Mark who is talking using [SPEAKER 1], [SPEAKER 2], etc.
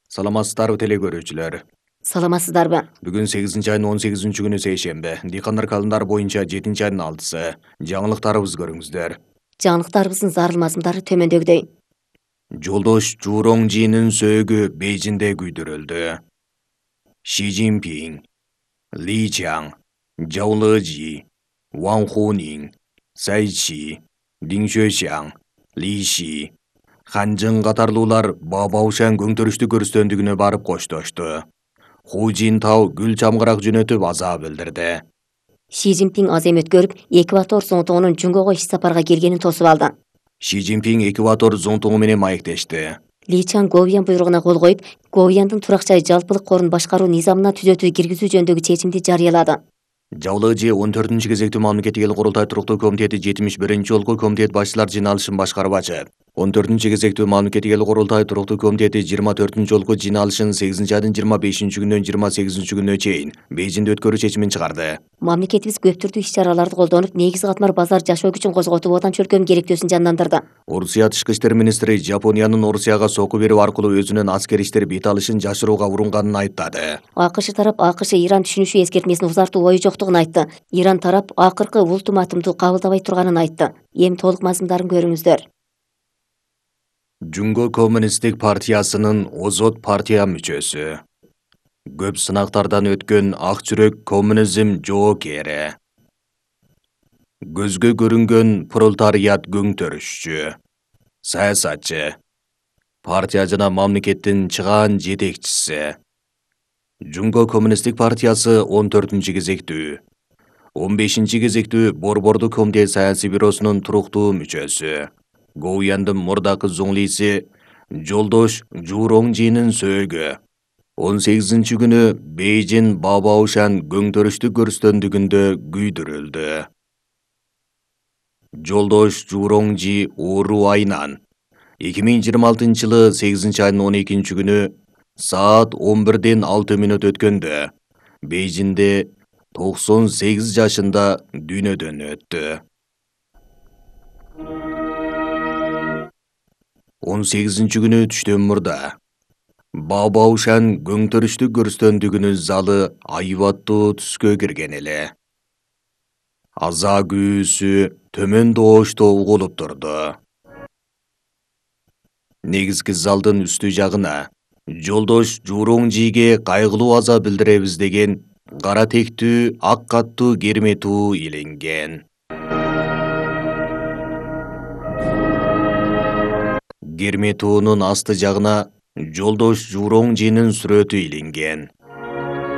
[SPEAKER 1] Саламатсыздарбы теле көрүүчүлөр.
[SPEAKER 2] Саламатсыздарбы?
[SPEAKER 1] Бүгүн 8-айдын 18-күнү сейшембе. Дыйкандар календар боюнча 7-айдын 6-сы. Жаңылыктарыбызды көрүңүздөр.
[SPEAKER 2] Жаңылыктарыбыздын зарыл мазмундары төмөндөгүдөй.
[SPEAKER 1] Жолдош Журоңжинин сөөгү Бейжиңде күйдүрүлдү. Ши Цзиньпин, Ли Чаң, Жау Лежи, Ван Хунин, Цай Чи, Дин Xuexiang, Ли Ши, Хан Чжэн катарлуулар Баобаошан көңтөрүштү көрсөтөндүгүнө барып коштошту. Ху Жинтао гүл чамгырак жөнөтүп аза билдирди.
[SPEAKER 2] Ши Цзиньпин аз эми өткөрүп, Эквадор зонтугунун Жунгого иш сапарга келгенин тосуп алды.
[SPEAKER 1] Ши Цзиньпин Эквадор зонтугу менен маектешти.
[SPEAKER 2] Ли Чаң Говьян буйругуна кол коюп, Говьяндын турак жай жалпылык корун башкаруу низамына түзөтүү киргизүү жөнүндөгү чечимди жарыялады.
[SPEAKER 1] Жау Лежи 14-кезектүү мамлекеттик эл курултай туруктуу комитети 71-жолку комитет башчылар жыйналышын башкарбачы. 14-кезектүү мамлекеттик эл курултай туруктуу комитети 24-жолку жыйналышын 8-айдын 25-күнүнөн 28-күнүнө чейин Бейжиңде өткөрүү чечимин чыгарды.
[SPEAKER 2] Мамлекетибиз көп түрдүү иш-чараларды колдонуп, негизги катмар базар жашоо күчүн козготуп, отан чөлкөм керектөөсүн жандандырды.
[SPEAKER 1] Орусия тышкы иштер министри Жапониянын Орусияга сокку берүү аркылуу өзүнүн аскер иштер бет алышын жашырууга урунганын айыптады.
[SPEAKER 2] АКШ тарап АКШ-Иран түшүнүшү эскертмесин узартуу ою жоктугун айтты. Иран тарап акыркы ультиматумду кабылдабай турганын айтты. Эми толук мазмундарын көрүңүздөр.
[SPEAKER 1] Жунго коммунисттик партиясынын озот партия мүчөсү. Көп сынактардан өткөн ак жүрөк коммунизм жоокери. Көзгө көрүнгөн пролетариат көңтөрүшчү. Саясатчы. Партия жана мамлекеттин чыгаан жетекчиси. Жунго коммунисттик партиясы 14-кезектүү. 15-кезектүү Борбордук комитет саясий бюросунун туруктуу мүчөсү. Говьяндын мурдакы зуңлиси Жолдош Журоңжинин сөөгү 18-күнү Бейжиң Баобаошан көңтөрүштү көрсөтөндүгүндө күйдүрүлдү. Жолдош Журоңжи оору айынан 2026-жылы 8-айдын 12-күнү саат 11:06 өткөндө Бейжиңде 98 жашында дүйнөдөн өттү. 18-күнү түштөн мурда Баобаошан көңтөрүштү көрсөтөндүгүнүн залы айбаттуу түскө кирген эле. Аза күүсү төмөн доошто угулуп турду. Негизги залдын үстү жагына Жолдош Журоңжиге кайгылуу аза билдиребиз деген кара тектүү ак каттуу керме туу иленген. Керме туунун асты жагына Жолдош Журоңжинин сүрөтү иленген.